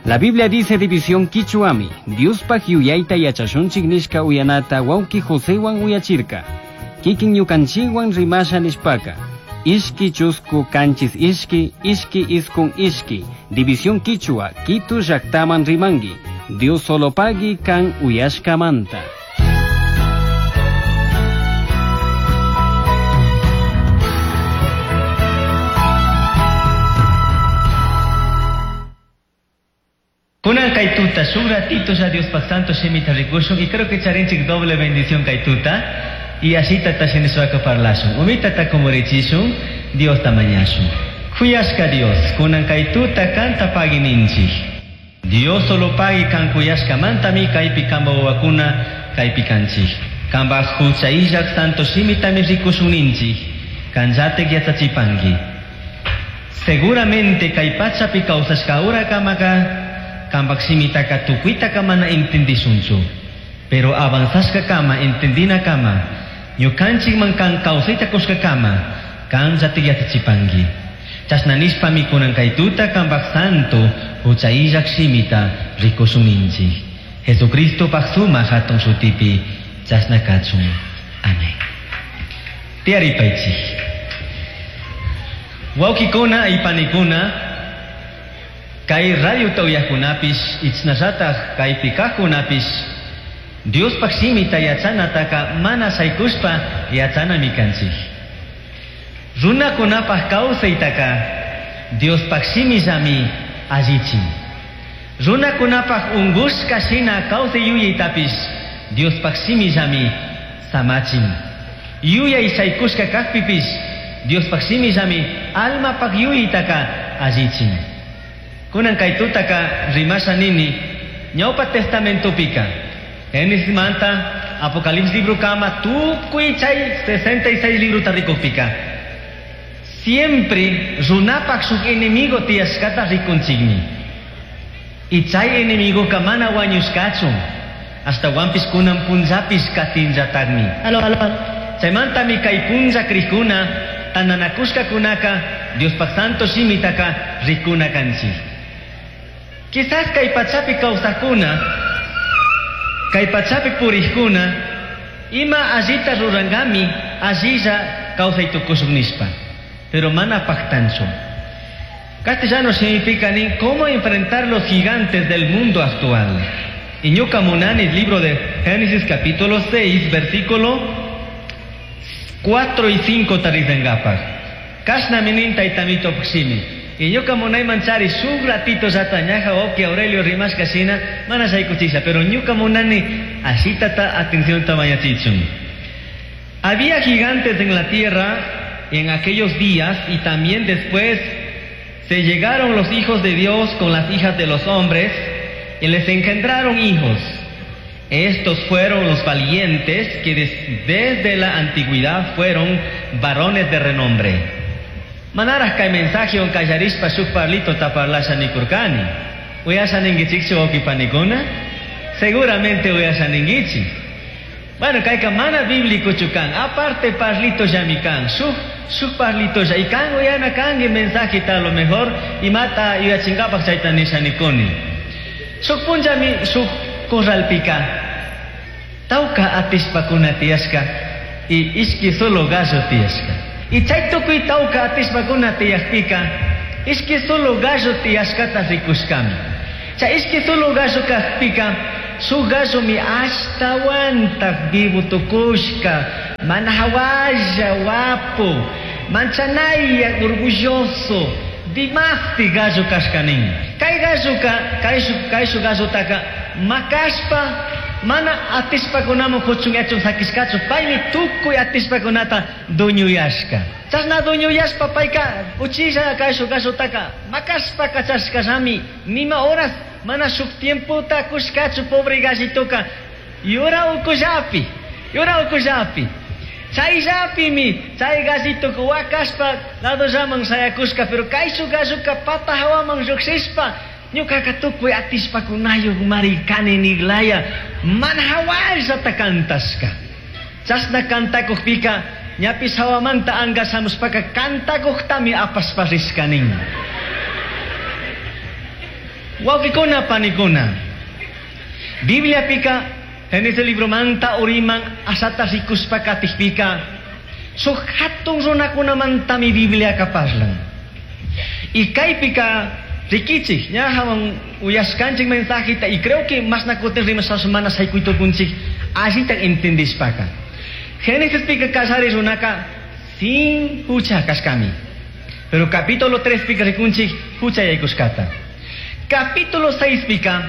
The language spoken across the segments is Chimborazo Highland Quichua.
La Biblia dice división quichuami, Diospaj yuyayta yachashunchik nishka uyanata wawki Josewan uyachirka. Kikin ñukanchikwan rimasha nishpaka. Ishki chusku kanchis ishki, ishki iskun ishki. División quichua, Quito llaktaman rimangi. Dios solo pagui kan uyashkamanta. Kunan kay tuta, shuk ratito ya Diospaj santo shimita rikushun y creo que charinchik doble bendición kay tuta y así tata shinishwaka parlashun. Umitata kumurichishun, Dios tamañashun. Kuyashka Dios, kunan kay tuta kanta pagui ninchik. Dios solo pagui kan kuyashka mantami kaypi kamba wawakuna kaypi kanchik. Kamba hucha illak santo shimitami rikushun ninchik. Kanllatik yachachipanki. Seguramente kay pachapi kawsashka ura kamaka kampak shimitaka tukuitaka mana entendishunchu. Pero avanzashka kama, entendina kama, ñukanchik man kan kawsayta kushka kama, kan llatik yachachipanki. Chashna nishpami kunan kay tuta kampak santo hucha illak shimita rikushun ninchik. Jesucristo pak sumak hatun shutipi chashna kachun. Amén. Tiyaripaychik. Wawkikuna y panikuna, kay radio tawyakunapish, ichnallataq kaypi kaqkunapish, Diospaq shimita yachanataka mana shaykushpa yachanami kanchik. Runakunapaq kawsaytaka Diospaq shimillami allichin. Runakunapaq unqushka shina kawsay yuyaytapish Diospaq shimillami samachin. Yuyay shaykushka kaqpipish Diospaq shimillami almapaq yuyaytaka allichin. Kunan kay tutaka rimasha nini ñawpa testamentopika Génesis manta Apocalipsis libro kama tukuy chay 66 libro tarikupika. Siempre runapak shuk enemigo tiyashkata rikunchikmi. Y chay enemigo kamana wañushkachun. Hasta wampis kunan punllapis katinllatakmi. Aló, aló, aló. Chaymantami kay punlla krikuna tananakushka kunaka Diospaq santo shimitaka rikuna kanchik. Quizás kay pachapi kawsakuna, kay pachapi puriqkuna, ima allita rurangami, allilla kawsay tukushun nishpa. Pero mana paqtanchu. Castellano significa nin cómo enfrentar los gigantes del mundo actual. Y ñuka munani, libro de Génesis capítulo 6, versículo 4 y 5 tarizangapaj. Kashna minin taytamito pximi. Y ñuka munay manchari shuk ratito llata ñaja oki Aurelio rimashka shina mana shaykuchisha, pero ñuka munani ashitata atención tamayachichun. Había gigantes en la tierra en aquellos días y también después se llegaron los hijos de Dios con las hijas de los hombres y les engendraron hijos. Estos fueron los valientes que desde la antigüedad fueron varones de renombre. Manaraj kay mensaje on kallarishpa shuk parlito taparlasha nikurkani. Uyasha ningichikchu wawqipanikuna? Seguramente uyasha ningichik. Bueno, kayka mana bíblico chukan. Aparte parlito llami kan. Shuk parlito ya. Y kan uyana kangi mensaje a lo mejor imata yuyachinkapak chayta nisha nikuni. Shuk punllami shuk corralpika. Tawka atishpakuna tiyashka y ishki solo gallo tiyashka. Y chay tukuy tawka atishpakuna tiyakpika ishki solo gallo tiyashkata rikushkami. Chay ishki solo gallo kajpika shuk gallo mi ashtawantak vivo tukushka, mana hawalla wapu, manchanaya orgulloso, dimasti gallo kashkanin. Kay galloka, kay shu gallotaka makashpa mana atishpakunaman huchun yachun sakishkachu, paymi tukuy atishpakunata duñuyashka. Chashna duñuyashpa payka uchilla kay shu gallotaka makashpa kachashkallami, nima horas mana shuk tiempota kushkachu pobre gallitoka, yura ukullapi, yura ukullapi. Chayllapimi, chay gallitoka wakashpa ladollaman shayakushka, pero kay shu galloka pata hawaman lluqshishpa, ñukaka tukuy atishpakunayuq marikani niglaya, mana hawallata kantashka. Chashna kantakuqpika, ñapis hawamanta angashamushpaka kantakuqtami apashpa rishkanin. Wawqikuna panikuna. Bibliapika Génesis libromanta uriman asata rikushpa katikpika shuk hatun runakunamantami Bibliaka parlan. Y kaypika rikichik ñajawan uyashkanchik mensajita y creo que mashna kutin rimashash mana shaykuytukunchik allita entendishpaka. Génesis pika kallari runaka sin hucha kashkami. Pero capítulo 3 pika rikunchik hucha yaykushkata. Capítulo 6 pika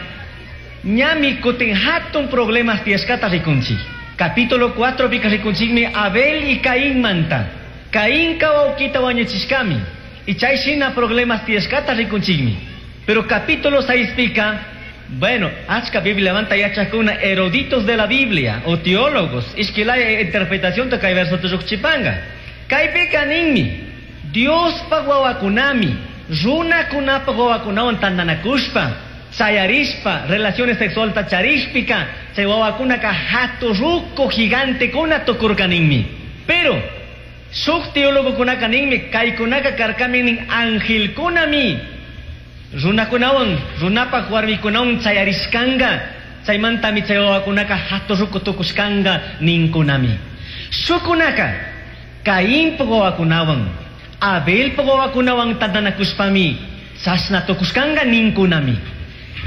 ñami kutin hatun problemas tiyashkata rikunchik. Capítulo 4 pika rikunchikmi Abel y Caín manta. Caín wawkita wañuchishkami. Y chay shina problemas tiyashkata rikunchikmi. Pero capítulo 6 pika, bueno, achka Biblia manta yachakuna eruditos de la Biblia o teólogos, ishkilaya interpretación kay verso chipanga. Kaypika ninmi, Diospaj wawakunami, runakunapaj wawakunawan tantanakushpa, chayarishpa, relaciones sexualta charishpika, chay wawakunaka hatu ruku gigantekuna tukurka ninmi. Pero, shuk teólogokunaka ninmi, kaykunaka karkami nin angelkunami, runakunawan, runapaj warmikunawan chayarishkanga, chaymantami chay wawakunaka hatu ruku tukushkanga ninkunami. Shukunaka, Cainpaj wawakunawan, Abelpaj wawakunawan tantanakushpami, chashna tukushkanga ninkunami.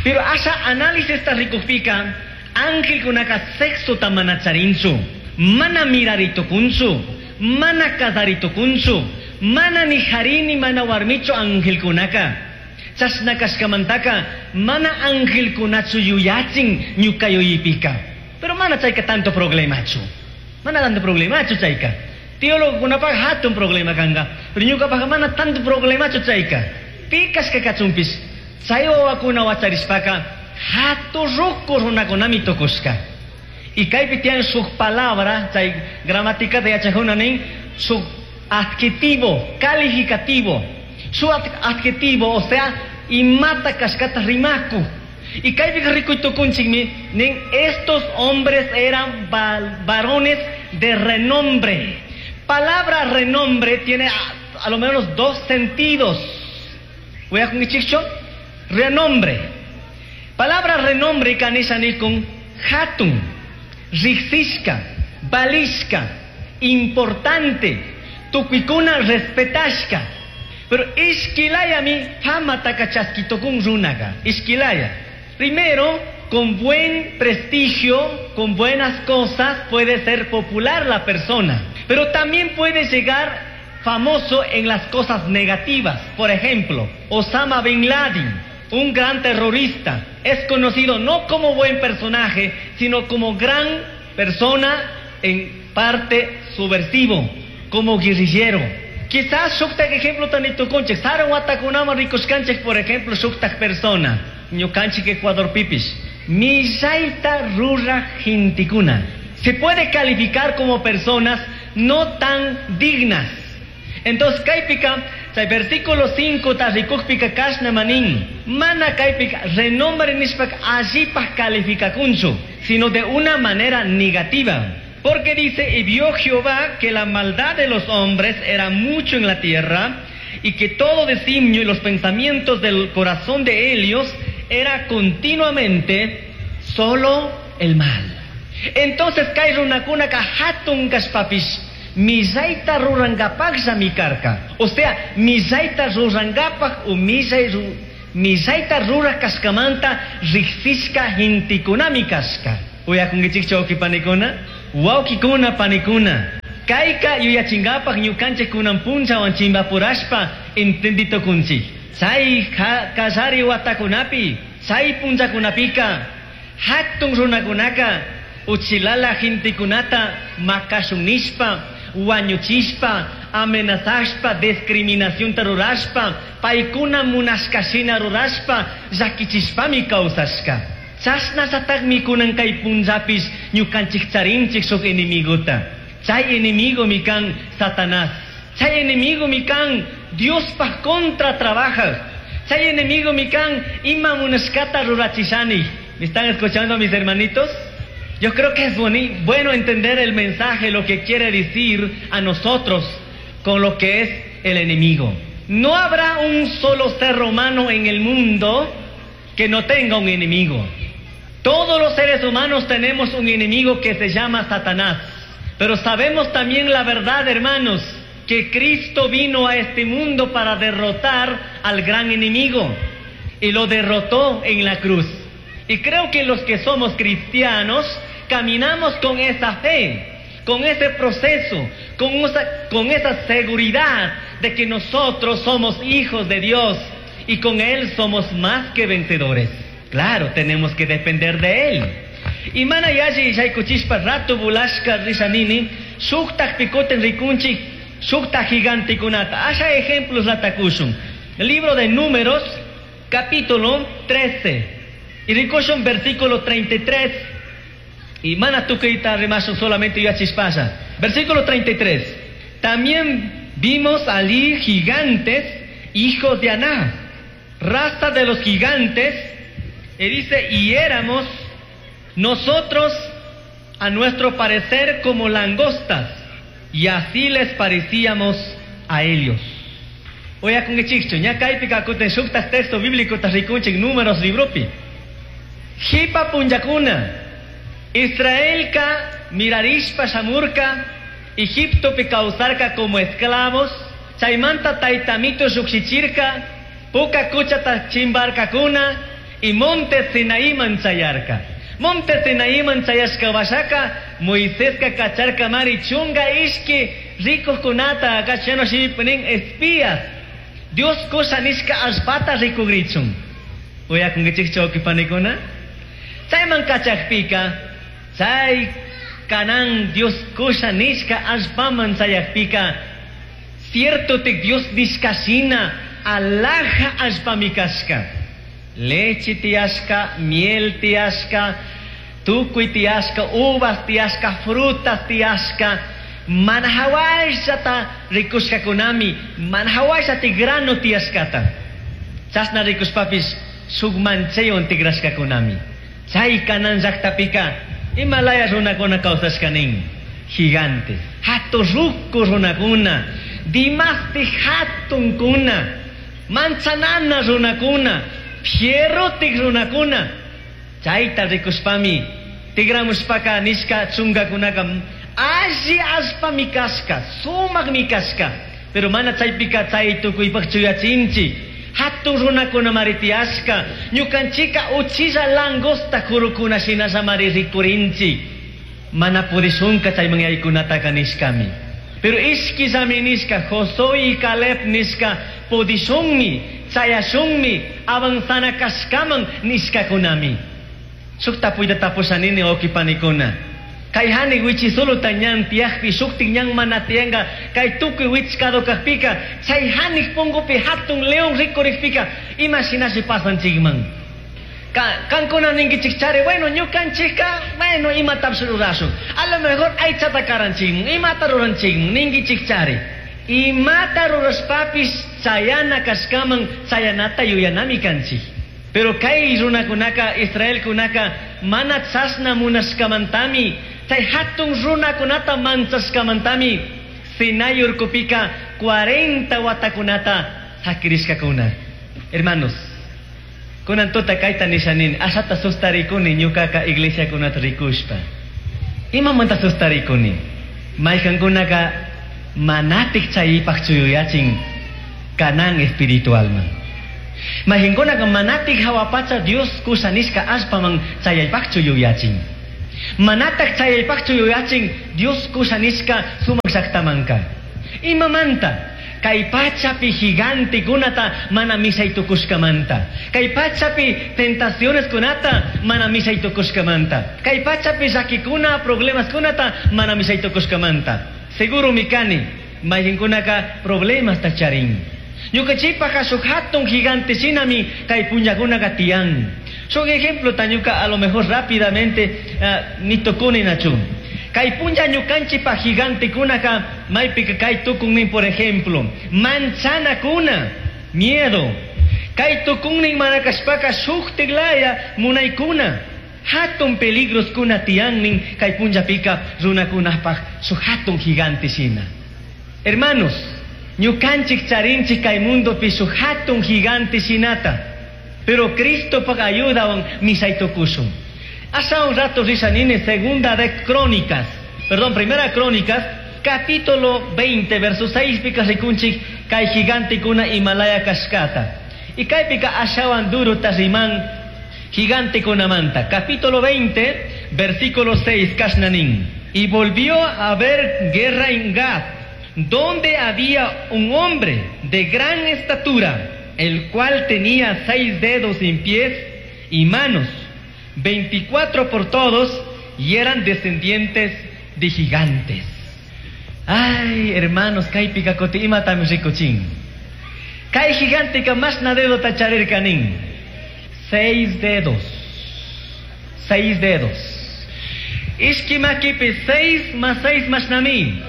Pero asha análisis ta rikukpika, angelkunaka sexota mana charinchu, mana miraritukunchu, mana kasaritukunchu, mana ni harini mana warmichu angelkunaka. Chashna kashkamantaka, mana angelkunachu yuyachin ñuka yuyipika. Pero mana chayka tanto problemachu. Mana tanto problemachu chayka. Teólogokunapaj hatun problema kanga. Pero ñukapaj mana tanto problemachu chayka. Pi kashka kachunpish, chay wawakuna wacharishpaka, hatu ruku runakunami tukushka. Y kaypi tiyan shuk palabra, chay gramaticata yachajuna nin, shuk adjetivo, calificativo. Su adjetivo, o sea, imata kashkata rimaku. Y kaypi rikuytukunchikmi nin, estos hombres eran varones de renombre. Palabra renombre tiene a lo menos dos sentidos. Voy a con renombre. Palabra renombre kanisha nikun hatun, riksishka, valishka, importante, tukuykuna respetashka. Pero ishkilayami fama takachaskitokun runaga. Ishkilaya. Primero, con buen prestigio, con buenas cosas, puede ser popular la persona. Pero también puede llegar famoso en las cosas negativas. Por ejemplo, Osama Bin Laden, un gran terrorista, es conocido no como buen personaje, sino como gran persona en parte subversivo, como guerrillero. Quizás shuktak ejemplo tanitukunchik, sarun watakunaman rikushkanchik, por ejemplo, shuktak persona, ñukanchik Ecuadorpipish, millayta ruraj gentekuna. Se puede calificar como personas no tan dignas. Entonces, kaypika, chay versículo 5 ta rikukpika kashna manin, mana kaypika renombre nishpak allipaj calificakunchu, sino de una manera negativa. Porque dice, y vio Jehová que la maldad de los hombres era mucho en la tierra, y que todo designio y los pensamientos del corazón de ellos era continuamente solo el mal. Entonces kay runakunaka hatun kashpapish, millayta rurangapajllami karka. O sea, millayta rurangapaj o millayta ruraj kashkamanta riksishka gentekunami kashka. Uyakunkichikchu wawqi panikuna? Wawqikuna panikuna. Kayka yuyachingapaj ñukanchik kunan punllawan chimpapurashpa entenditukunchik. Chay kallari watakunapi, chay punllakunapika, hatun runakunaka, uchilala gentekunata makashun nishpa, wañuchishpa, amenazashpa, discriminacionta rurashpa, paykuna munashkashina rurashpa, llakichishpami kawsashka. Chashnallatakmi kunan kay punllapish ñukanchik charinchik shuk enemigota. Chay enemigomi kan Satanás. Chay enemigomi kan Diospaj contra trabaja. Chay enemigomi kan ima munashkata rurachishani. ¿Me están escuchando mis hermanitos? Yo creo que es bueno entender el mensaje, lo que quiere decir a nosotros con lo que es el enemigo. No habrá un solo ser humano en el mundo que no tenga un enemigo. Todos los seres humanos tenemos un enemigo que se llama Satanás. Pero sabemos también la verdad, hermanos, que Cristo vino a este mundo para derrotar al gran enemigo. Y lo derrotó en la cruz. Y creo que los que somos cristianos caminamos con esa fe, con ese proceso, con esa seguridad de que nosotros somos hijos de Dios y con Él somos más que vencedores. Claro, tenemos que depender de Él. Y mana yalli shaykuchishpa rato bulashka rishanini, shuktaj picoten rikunchik, shuktaj gigantekunata. Asha ejemplos latakushun. Libro de Números, capítulo 13. Y rikushun versículo 33. Y mana tukuyta rimashun solamente yachispasha. Versículo 33. También vimos allí gigantes, hijos de Aná, raza de los gigantes. Y dice, y éramos nosotros a nuestro parecer como langostas, y así les parecíamos a ellos. Uyakunkichikchu, ña kaypi kakutin shuktaj texto bíblico rikunchik Números libropi. Jipa punllakuna, Israelka mirarishpa shamurka, Egiptopi kawsarka como esclavos, chaymanta taytamito llukshichirka, puka kuchata chimbarkakuna, y monte Sinaíman chayarka. Monte Sinaíman chayashka washaka, Moiseska kacharka mari chunga ishki rikuqkunata kachano shimipi espías. Dios kusha nishka allpata rikugrichun. Uyakunkichikchu wawqipanikuna? Chayman kachakpika, chay Canaán Dios kusha nishka allpaman chayakpika, cierto tik Dios nishka shina alaja allpami kashka. Leche tiyashka, miel tiyashka, tukuy tiyashka, uvas tiyashka, frutas tiyashka, mana hawashata rikushkakunami, mana hawashata grano tiyashkata. Chashna rikushpapis shuk manchaywan tigrashkakunami. Chay Canaán llaqtapika imalaya runakuna kawsashka nin, gigantes, hatun ruku runakuna, dimasti hatunkuna, manchanana runakuna, fierrotik runakuna. Chayta rikushpami tigramushpaka nishka chunkakunaka alli allpami kashka, sumakmi kashka, pero mana chaypika chay tukuypaq chuyachinchik. Hatun runakuna mari tiyashka, ñukanchika uchilla langosta kurukuna shinalla mari rikurinchik. Mana pudishunka chayman yaykunataka nishkami. Pero ishkillami nishka, Josué y Caleb nishka, pudishunmi, chayashunmi, avanzana kashkaman nishkakunami. Shuk tapuyta tapushanini wawqipanikuna. Kay hani wichisuluta ñan tiyakpi, shuktik ñan mana tiyanka, kay tukuy wichkado kajpika, chay hanik punkupi hatun león rikurikpika, ima shinashi pasanchikman. Kankuna ninkichik chari, bueno, ñukanchikka, bueno, imatapish rurashun. A lo mejor aychata karanchikman, imata ruranchikman, ninkichik chari. Imata rurashpapis chayana kashkaman, chayanata yuyanami kanchik. Pero kay runakunaka, Israelkunaka, mana chashna munashkamantami, chay hatun runakunata manchashkamantami, Sinai urkupika 40 watakunata sakirishkakuna. Hermanos, kunan tuta kayta nishanin, ashata sustarikuni ñukaka iglesiakunata rikushpa. Imamanta sustarikuni? Mayqankunaka manatik chaypaq chuyuyachin Canaán espiritualman. Mayqankunaka manatik hawa pacha Dios kusha nishka allpaman chayaypaqchu yuyachin. Manataq chayaypaqchu yuyachin Dios kusha nishka sumaq llaqtamanka. Imamanta? Kay pachapi gigantekunata mana mishay tukushkamanta. Kay pachapi tentacioneskunata mana mishay tukushkamanta. Kay pachapi llakikuna problemaskunata mana mishay tukushkamanta. Seguro mikani, mayqinkunaka problemasta charin. Ñukanchikpaka shuk hatun gigante shinami kay punllakunaka tiyan. Shuk ejemplo ñuka a lo mejor rápidamente nitukuni nachu. Kay punlla ñukanchikpa gigantekunaka maypika kay tukunnin, por ejemplo, manchanakuna, miedo. Kay tukunnin mana kashpaka shuktik laya munaykuna. Hatun peligroskuna tiyannin kay punllapika runakunapaq shuk hatun gigante shina. Hermanos, ñukanchik charinchik kay mundopi shuk hatun gigante shinata. Pero Cristopaj ayudawan mishay tukushun. Asha un rato rishanini segunda de Crónicas, perdón, primera Crónicas, capítulo 20, verso 6 pika rikunchik kay gigantekuna imalaya kashkata. Y kaypika ashawan duro riman gigantekunamanta. Capítulo 20, versículo 6, kashnanin. Y volvió a haber guerra en Gath, donde había un hombre de gran estatura, el cual tenía 6 dedos en pies y manos, 24 por todos, y eran descendientes de gigantes. Ay, hermanos, kaypika kuti imatami rikuchin. Kay giganteka mashna dedota charirkanin. 6 dedos. 6 dedos. Ishki makipi 6 más 6 mashnami.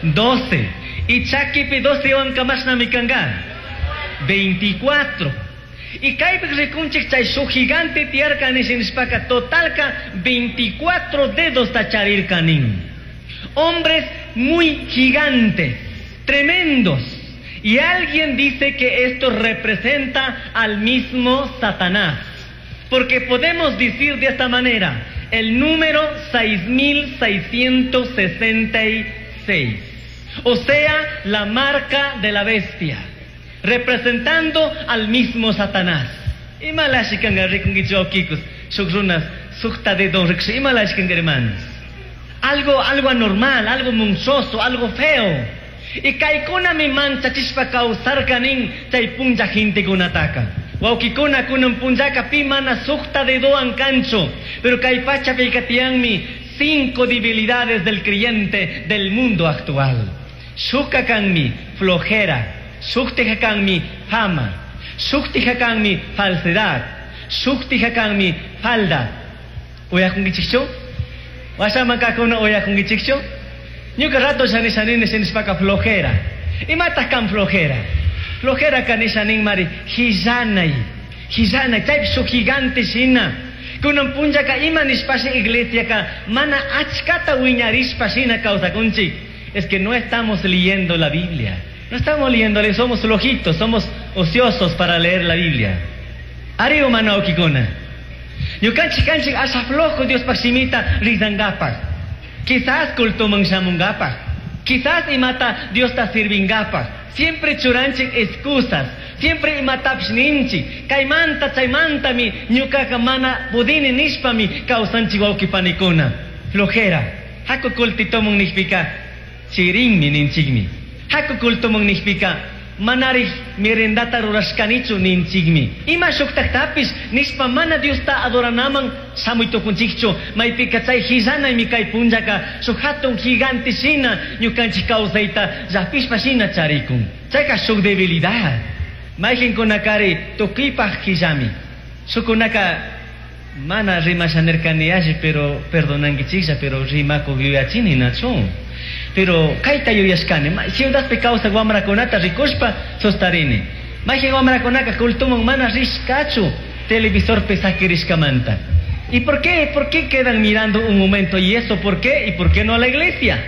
12. Y chakipi 12 wanka mashnami kanga. 24. Y kaypi rikunchik chay shuk gigante tiyarka nishinishpaka totalka 24 dedos ta charirkanin. Hombres muy gigantes, tremendos. Y alguien dice que esto representa al mismo Satanás. Porque podemos decir de esta manera, el número 6666. O sea, la marca de la bestia, representando al mismo Satanás. Imalashikanga rikunkichu wawkikus, shuk runas, sukta dedo rikush, imalashikanga hermanos. Algo anormal, algo monstruoso, algo feo. Y kaykunami manchachishpa kawsarkanin chay punlla gentekunataka. Wawkikuna kunan punllaka pi mana sukta dedowan kanchu. Pero kay pachapika tiyanmi 5 debilidades del creyente del mundo actual. Shukka kanmi flojera, shuktija kanmi fama, shuktija kanmi falsedad, shuktija kanmi falda. Uyakunkichikchu? Washaman kakuna uyakunkichikchu? Ñuka rato shani shanini shinishpaka flojera. Imataq kan flojera? Flojera kanishanin mari hillanay. Hillanay, chaypi shuk gigante shina. Kunan punllaka ima nishpashi iglesiaka mana achkata wiñarishpa shina kawsakunchik. Es que no estamos leyendo la Biblia. No estamos leyéndole, somos flojitos, somos ociosos para leer la Biblia. Ari humano wawkikuna. Ñukanchik kanchik asha flojo Diospaj shimita rizangapaj. Quizás cultoman shamungapaj. Quizás imata Diosta sirvingapaj. Siempre churanchik excusas. Siempre imatapish ninchik. Kaymanta, chaymantami, ñukaka mana pudini nishpami kawsanchik wawqipanikuna. Flojera. Haku kultitomun nishpika chirinmi ninchikmi. Haku kultomun nishpika manarij merendata rurashkanichu ninchikmi. Ima shuktaktapis nishpa mana Diosta adoranaman shamuy tukunchikchu. Maypika chay hillanaymi kay punllaka shuk hatun gigante shina ñukanchik kawsayta llapishpa shina charikun. Chayka shuk debilidad. Mayqinkunakari tukuypaj hillami. Shukkunaka mana rimashanirkani alli, pero perdonankichiklla, pero rimakuq yuyachini nachu. Pero kayta yuyashkani, ciudadpi kawsaq wamrakunata rikushpa sustarini. Mayqin wamrakunaka cultuman mana rishkachu televisorpi sakirishkamanta. ¿Y por qué? ¿Por qué quedan mirando un momento? ¿Y eso por qué? ¿Y por qué no a la iglesia?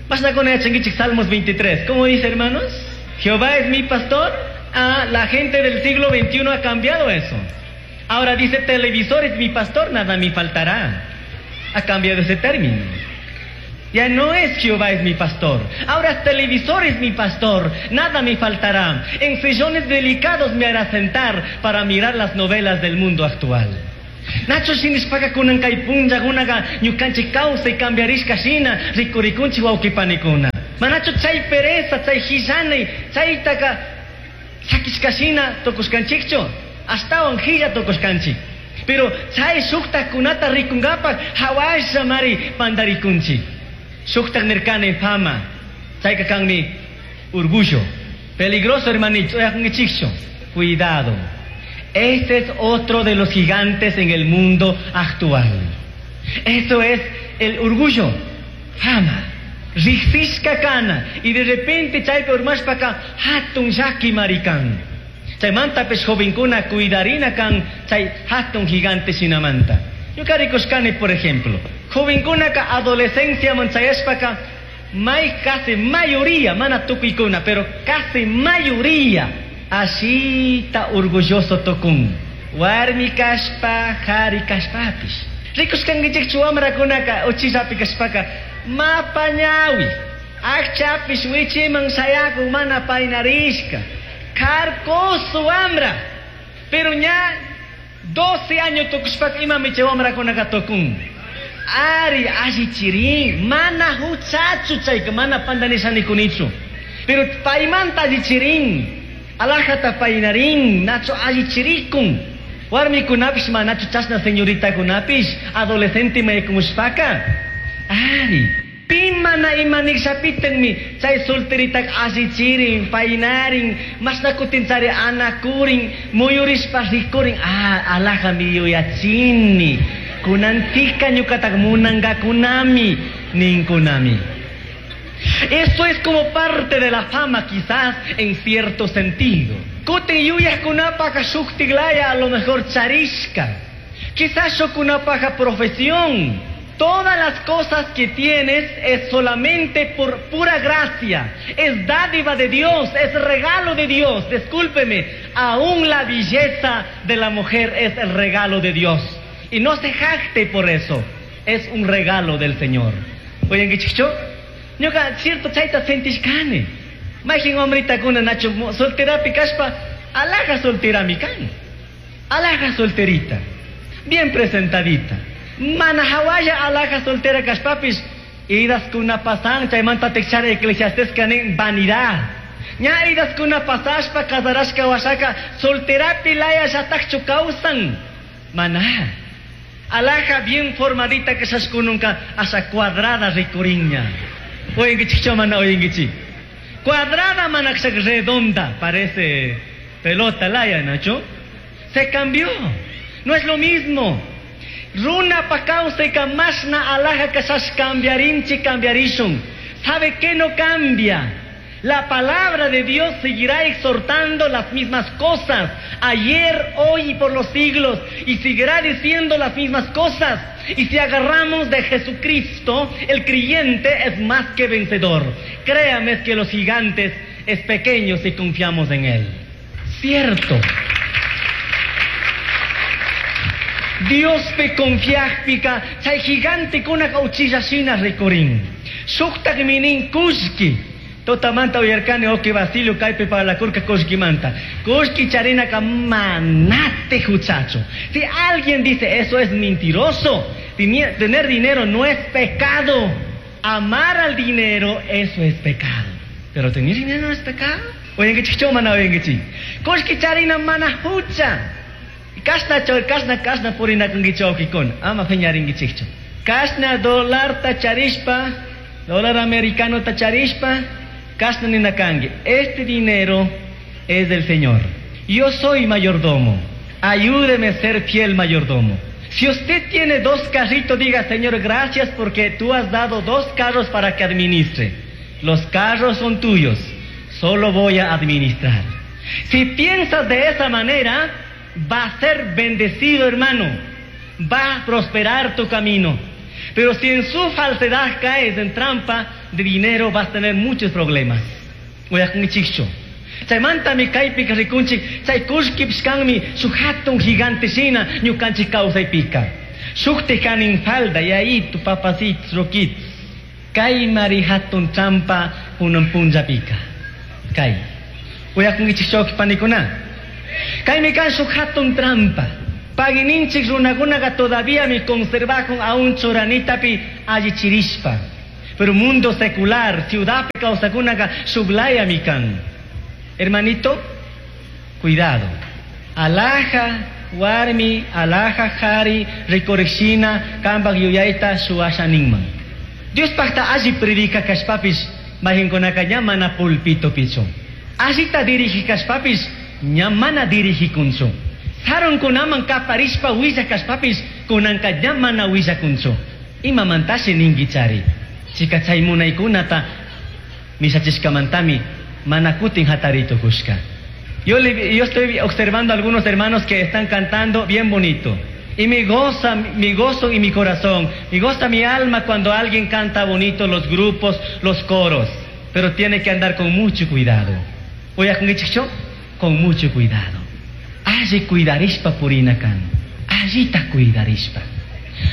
Mashnakuna yachankichik Salmos 23. ¿Cómo dice, hermanos? Jehová es mi pastor. Ah, la gente del siglo veintiuno ha cambiado eso. Ahora dice, televisor es mi pastor, nada me faltará. Ha cambiado ese término. Ya no es Jehová es mi pastor. Ahora televisor es mi pastor, nada me faltará. En sillones delicados me hará sentar para mirar las novelas del mundo actual. Nacho shinishpaka kunan kay punllakunaqa ñukanchik kawsay cambiarishka shina rikurikunchik wawqipanikuna. Manachu chay pereza, chay hillanay, chaytaka sakishka shina tukushkanchikchu, astawan hilla tukushkanchik. Pero chay shuktakunata rikunkapaq hawasha mari pantarikunchik. Shuktak nirkani fama, chayka kanmi orgullo. Peligroso, hermanito, uyakunkichikchu. Cuidado. Este es otro de los gigantes en el mundo actual. Eso es el orgullo, fama. Riqsishka kana y de repente chaypi urmashpaka hatun llaki marikan. Chaymantapis jovenkuna cuidarina kan chay hatun gigante shinamanta. Ñuka rikushkani, por ejemplo, jovenkunaka adolescenciaman chayashpaka may casi mayoría, mana tukuykuna, pero casi mayoría Ashita orgulloso tukun. Warmi kashpa, hari kashpapish. Rikushkankichikchu wamrakunaka uchillapi kashpaka mapa ñawi. Akchapish wichiman shayakun mana painarishka. Karkoso wamra. Pero ña 12 años tukushpaka imami chay wamrakunaka tukun. Ari allichirin, mana huchachu chayka, mana pandanishanikunichu. Pero paymanta allichirin, alajata paynarin, nacho allichirikun. Warmikunapish manachu chashna señoritakunapish, adolescente maykushpaka. Ari, pi mana imanikshapitenmi, chay solteritak allichirin, paynarin, mashna kutin chari anakurin, muyurishpa rikurin, ah, alajami yuyachini. Kunantika ñukatak munangakunami, ninkunami. Esto es como parte de la fama quizás en cierto sentido. Kutin yuyajkunapaka shuktiklaya a lo mejor charishka. Quizás shukunapaja profesión. Todas las cosas que tienes es solamente por pura gracia. Es dádiva de Dios, es regalo de Dios. Discúlpeme, aún la belleza de la mujer es el regalo de Dios. Y no se jacte por eso. Es un regalo del Señor. Oye, ¿qué Ñuka cierto chayta sentishkani. Mayqin hombritakuna nacho solterapi kashpa, alhaja solterami kan. Alhaja solterita. Bien presentadita. Mana hawalla alhaja soltera kashpapis, idaskuna pasan chaymanta tekchara Eclesiastes kanin vanidad. Ña idaskuna pasashpa casarashka washaka solterapi laya llatakchu kawsan. Mana. Alhaja bien formadita que nunca asa cuadrada rikuriña. Oyenkichik mana oyenkichik. Cuadrada mana redonda, parece pelota laya, Nacho. Se cambió. No es lo mismo. Runa pa kawsayka mashna alhaja kashash cambiarinchi cambiarishun. ¿Sabe qué no cambia? La palabra de Dios seguirá exhortando las mismas cosas, ayer, hoy y por los siglos, y seguirá diciendo las mismas cosas. Y si agarramos de Jesucristo, el creyente es más que vencedor. Créame que los gigantes es pequeño si confiamos en Él. Cierto. Dios pe confiajpika, chay gigante kuna uchilla shina rikurin. Shuktak minin kushki. Totamanta uyarkani oki Basilio kaypi para la kurka kushkimanta. Kushki charinaka manate huchacho. Si alguien dice eso es mentiroso, tener dinero no es pecado. Amar al dinero, eso es pecado. Pero tener dinero no es pecado. Oyen mana oyen que Kushki charina mana hucha. Kashna choy, kashna kashna purinakunkichu wawqikuna, ama phiñarinkichikchu. Kashna dólar charishpa, dólar americano ta charishpa, kashna ninakanki. Este dinero es del Señor. Yo soy mayordomo. Ayúdeme a ser fiel mayordomo. Si usted tiene 2 carritos, diga, Señor, gracias porque tú has dado 2 carros para que administre. Los carros son tuyos, solo voy a administrar. Si piensas de esa manera, va a ser bendecido, hermano. Va a prosperar tu camino. Pero si en su falsedad caes en trampa de dinero, vas a tener muchos problemas. Uyakunkichikchu. Chaymantami kaypika rikunchik, chay kullkipish kanmi shuk hatun gigante shina ñukanchik kawsaypika. Shukti kanin falda, yayito, papacitos, roquitos. Kay mari hatun trampa kunan punllapika. Kay. Uyakunkichik chawki panikuna. Kaymi kan shuk hatun trampa. Pagininchik runakunaqa todavía mi conservakun aún churanitapi allichirishpa. Pero mundo secular, ciudad kawsakunaqa shuklaya mi kan. Hermanito, cuidado. Alhaja warmi, alhaja jari, rikurishina, kampak yuyayta shuwasha ninman. Dios pacta alli predica kashpapis, mayqinkunaka ña mana pulpito pichu. Allita dirigi kashpapis, ña mana dirigikunchu. Sarunkunaman kaparishpa willa kashpapis, kunanka ña mana willakunchu. Imamantashi ninkichari. Chika chay munaykunata mishachishkamantami mana kutin hatarito kushka. Yo estoy observando a algunos hermanos que están cantando bien bonito. Y me goza, mi gozo y mi corazón, me goza mi alma cuando alguien canta bonito los grupos, los coros. Pero tiene que andar con mucho cuidado. Oye, ¿con qué chicho? Con mucho cuidado. Alli cuidarishpa purina kan. Allita cuidarishpa.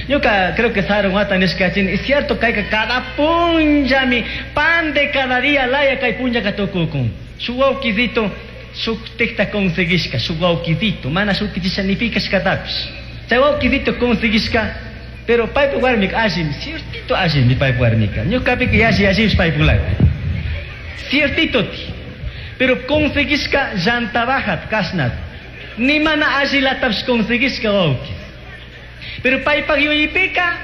Ñuka creo que sarun wata nishkachin, es cierto kayka cada punllami pan de cada día laya kay punllaka tukukun. Shuk wawkisito shuktikta conseguishka, shuk wawkisito, mana shutichisha ni pi kashkatapish. Chay wawkisito conseguishka, pero paypa warmika allimi, ciertito allimi paypa warmika. Ñukapika yalli allimish paypulaka. Ciertito ti. Pero conseguishka llanta bajat kashnat. Ni mana allilatapish conseguishka wawkis. Pero paypak yuyaypika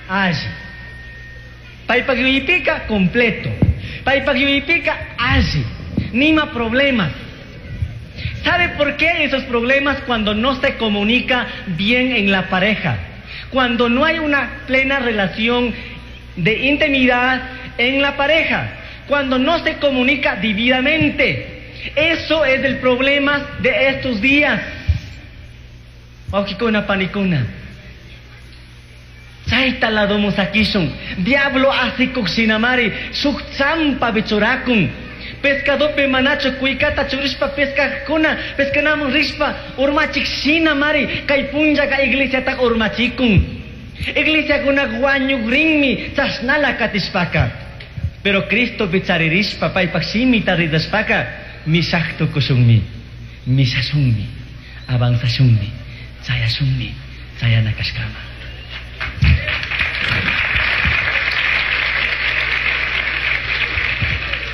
alli. Paypak yuyaypika completo. Paypak yuyaypika alli. Nima problemas. ¿Sabe por qué esos problemas? Cuando no se comunica bien en la pareja. Cuando no hay una plena relación de intimidad en la pareja. Cuando no se comunica debidamente. Eso es el problema de estos días. Wawkikuna panikuna. Chayta ladomun sakishun. Diablo asikuk shinamari. Shuk champapi churakun. Pescadopi manachu kuykata churishpa pescajkuna. Pescanamun rishpa urmachik shinamari. Kay punllaka iglesiata urmachikun. Iglesiakuna wañukrinmi chashnala katishpaka. Pero Cristo picharirishpa paypak shimita ridashpaka mishak tukushunmi. Mishashunmi. Avanzashunmi. Chayashunmi. Chayana kashkama.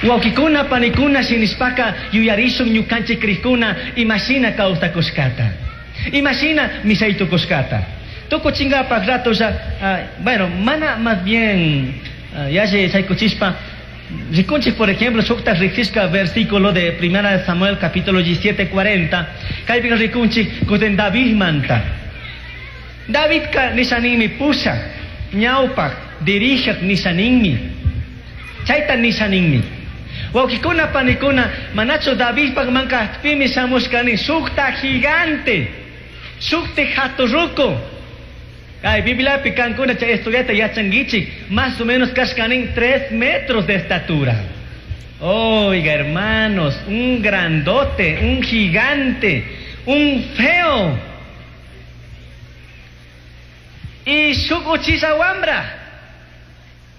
Wawkikuna panikuna shinishpaka yuyarishun ñukanchik krikuna imashina kawsakushkata. Imashina mishaytukushkata. Tukuchinkapak ratolla, bueno, mana más bien yalli chaykuchishpa rikunchik, por ejemplo, shukta riksishka versículo de Primera de Samuel capítulo 17:40, kaypika rikunchik kutin David manta. Davidka nishaninmi pushak, ñawpak, dirishak nishaninmi. Chayta nishaninmi. Wawkikuna panikuna, manachu Davidpak mankajpimi shamushkani shukta gigante, shukti haturruku. Ay, Bibliapi kankuna chay estudiata yachankichik, más o menos kashkanin 3 metros de estatura. Oiga, hermanos, un grandote, un gigante, un feo. Y shuk uchilla wambra,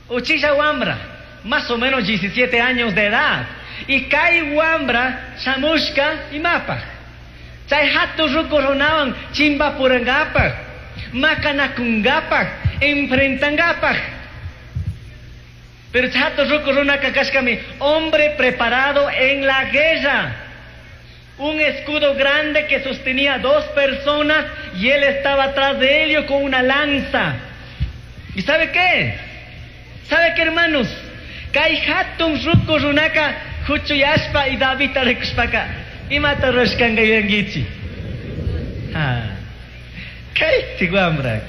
uchilla wambra, más o menos 17 años de edad. Y kay wambra, shamushka y mapa. Chay hatu ruku runawan chimbapurangapaj, makanakungapaj, enfrentangapaj. Pero hatu ruku runaka kashkami, hombre preparado en la guerra. Un escudo grande que sostenía 2 personas y él estaba atrás de ellos con una lanza. ¿Y sabe qué? ¿Sabe qué, hermanos? Kay hatun ruku runaka huchuyashpa y Davidta rikushpaka imata rurashkanka yuyankichik. Ha. Kay wambra.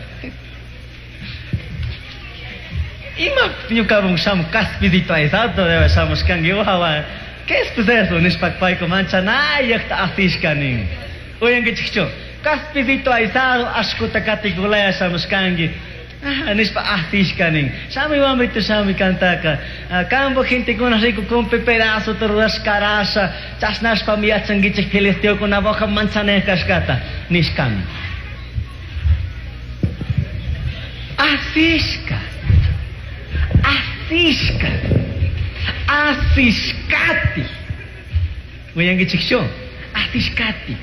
Ima ñukamun shamu kaspidito aysato debe shamushkanki wawa. ¿Qué es pues eso? Nishpak payku manchanayaqta asishkanin. Uyankichikchu. Kaspidito aysado ashkuta katikulaya shamushkanki. Ah, nishpa asishkanin. Shamuy wambrito shamuy kantaka. Kambo gentekuna rikukunpi pedazo rurashkarasha. Chashnashpami yachankichik filisteokuna boja manchanay kashkata. Nishkami. Asishka. Asishka. Asishkati. Uyankichikchu. Asishkati.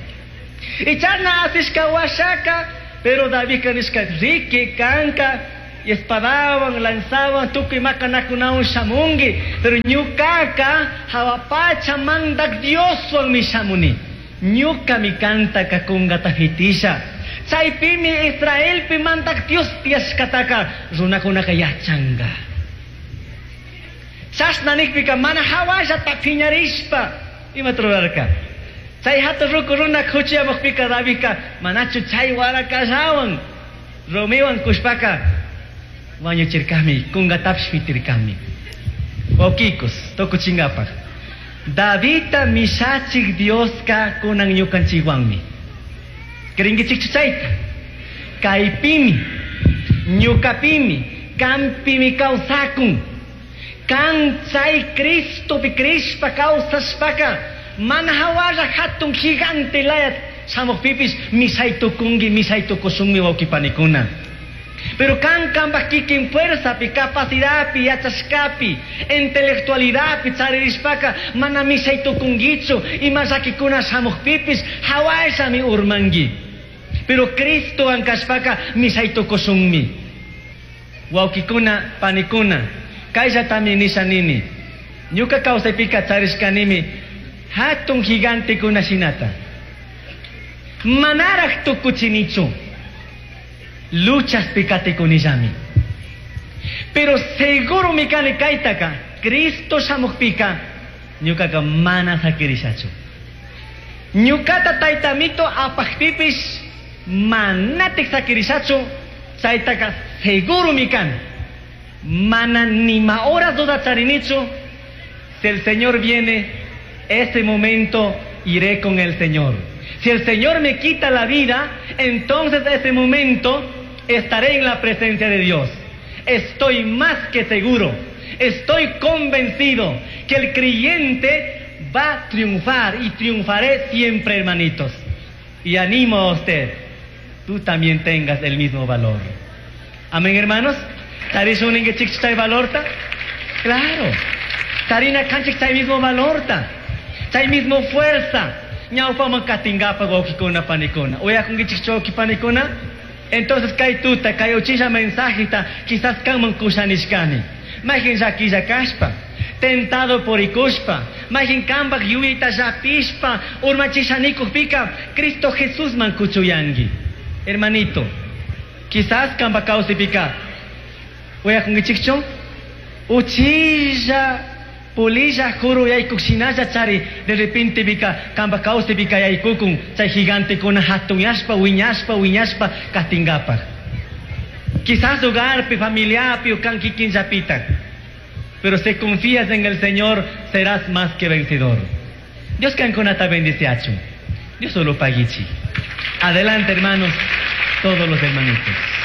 Ichana asishka washaka. Pero David nishka riki kanka espadawan lanzawan tukuy makanakunawan shamunki. Pero ñukaka hawapacha mandak Dioswan mi shamuni. Ñuka mi kantaka kungata fitisha. Chaypimi Israelpi mandak Dios tiyashkataka runakunaka yachanga. Chashna nikpika mana hawallata piñarishpa imata rurarka. Chay hatun ruku runa kuchiyamukpika Davidka manachu chay warakallawan rumiwan kushpaka wañuchirkami kunkatapish fitirkami. Wawkikus tukuchinkapak. Davidta mishachik Dioska kunan ñukanchikwanmi. Creenkichikchu chayta? Kaypimi, ñukapimi, kampimi kawsakun. Kan chay Cristopi crishpa kawsashpaka Mana hawalla hatun gigante laya shamukpipis mishay tukunki, mishay tukushunmi wawqipanikuna. Pero kan kambaj kikin fuerzapi, capacidadpi, yachashkapi, intelectualidadpi charirishpaka mana mishay tukunkichu, ima llakikuna shamukpipis hawallami urmanki. Pero Cristowan kashpaka mishay tukushunmi. Wawqikuna, panikuna, kayllatami nisha nini. Ñuka kawsaypika charishkanimi hatun gigantekuna shinata. Manaraj tukuchinichu. Luchaspi katikunillami. Pero seguro mi kani kaytaka, Cristo shamukpika, ñukaka mana sakirishachu. Ñukata taytamito apakpipis manatik sakirishachu, chaytaka seguro mi kani. Mana nima horas duda charinichu, si el Señor viene, ese momento iré con el Señor. Si el Señor me quita la vida, entonces ese momento estaré en la presencia de Dios. Estoy más que seguro, estoy convencido que el creyente va a triunfar y triunfaré siempre, hermanitos. Y animo a usted, tú también tengas el mismo valor. Amén, hermanos. Charishun valorta? Claro. Charina kanchik chay mismo valorta. Chay mismo fuerza. Ñawpaman katingapaj wawqikuna panikuna. Uyakunkichikchu wawqi panikuna? Entonces kay tuta, kay uchilla mensajeta, quizás kanman kushanishkani. Mayqin llakilla kashpa, tentado purikushpa, mayqin kambaj yuyayta llapishpa, urmachishanikukpika, Cristo Jesusman kuchuyanki. Hermanito, quizás kamba kawsaypika, uyakunkichikchu? Uchilla polilla juru yaykuk shinalla chari, de repente pika kamba kawsaypika yaykukun, chay gigantekuna hatunyashpa, wiñashpa, wiñashpa katingapaj. Quizás hogarpi, familiapi o kan kikinllapita. Pero si confías en el Señor, serás más que vencedor. Dios kankunata bendiciachun. Dios solo paguichi. Adelante, hermanos, todos los hermanitos.